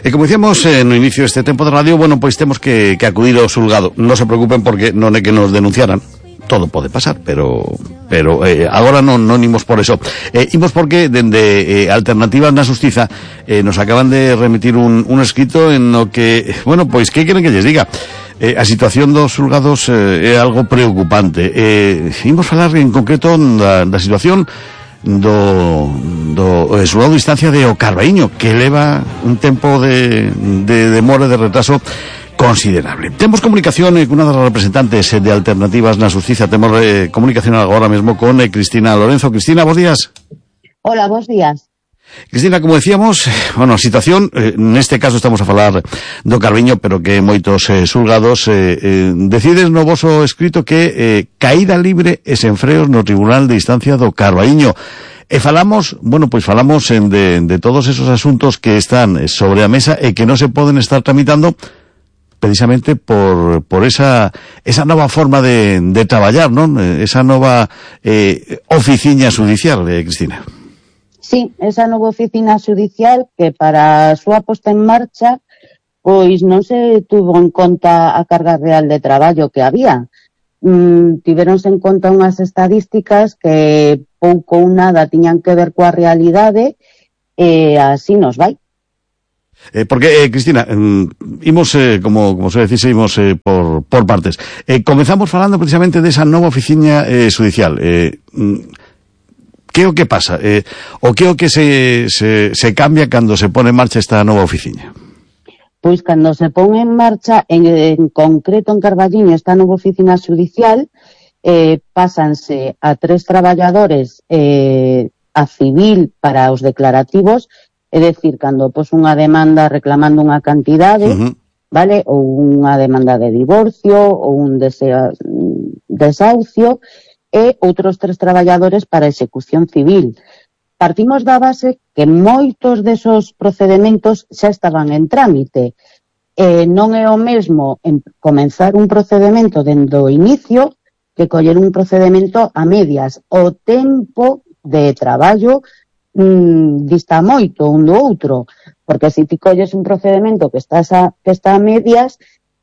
E como dicíamos no inicio deste tempo de radio, bueno, pois temos que acudir ao xulgado. Non se preocupen porque non é que nos denunciaran. Todo pode pasar, pero agora non imos por eso. Imos porque dende Alternativas na Xustiza nos acaban de remitir un escrito en no que, bueno, pois que queren que lles diga? A situación dos xulgados é algo preocupante. Imos falar en concreto da situación do xulgado de instancia de O Carbaíño, que leva un tempo de demora, de retraso considerable. Temos comunicación con unha das representantes de Alternativas na Xustiza. Temos comunicación agora mesmo con Cristina Lorenzo. Cristina, bons días. Hola, bons días. Cristina, como decíamos, bueno, a situación, neste caso estamos a falar do Carbaíño, pero que moitos xulgados decides no voso escrito que caída libre e sen freos no Tribunal de Instancia do Carbaíño. E falamos, bueno, pois falamos de todos esos asuntos que están sobre a mesa e que non se poden estar tramitando precisamente por esa nova forma de traballar, non? Esa nova oficiña xudicial, Cristina. Sí, esa nova oficina xudicial que para a súa posta en marcha pois non se tuvo en conta a carga real de traballo que había. Tiveronse en conta unhas estadísticas que pouco ou nada tiñan que ver coa realidade e así nos vai. Porque, Cristina, imos, como se decise, imos por partes. Comezamos falando precisamente desa nova oficina xudicial. Que é o que pasa? O que é o que se cambia cando se pone en marcha esta nova oficina? Pois cando se pon en marcha, en concreto en Carballiño, esta nova oficina xudicial, pásanse a 3 traballadores a civil para os declarativos. É dicir, cando pos unha demanda reclamando unha cantidade, vale, ou unha demanda de divorcio, ou un desahucio, e outros 3 traballadores para execución civil. Partimos da base que moitos desos procedimentos xa estaban en trámite. Non é o mesmo comenzar un procedimento dende o inicio que coller un procedimento a medias. O tempo de traballo dista moito un do outro, porque se ti colles un procedimento que está a medias,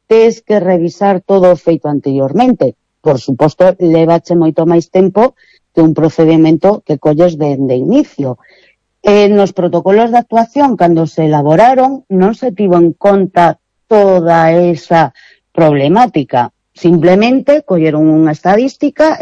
tes que revisar todo o feito anteriormente. Por suposto, levache moito máis tempo que un procedimento que colles de inicio. Nos protocolos de actuación, cando se elaboraron, non se tivo en conta toda esa problemática. Simplemente colleron unha estadística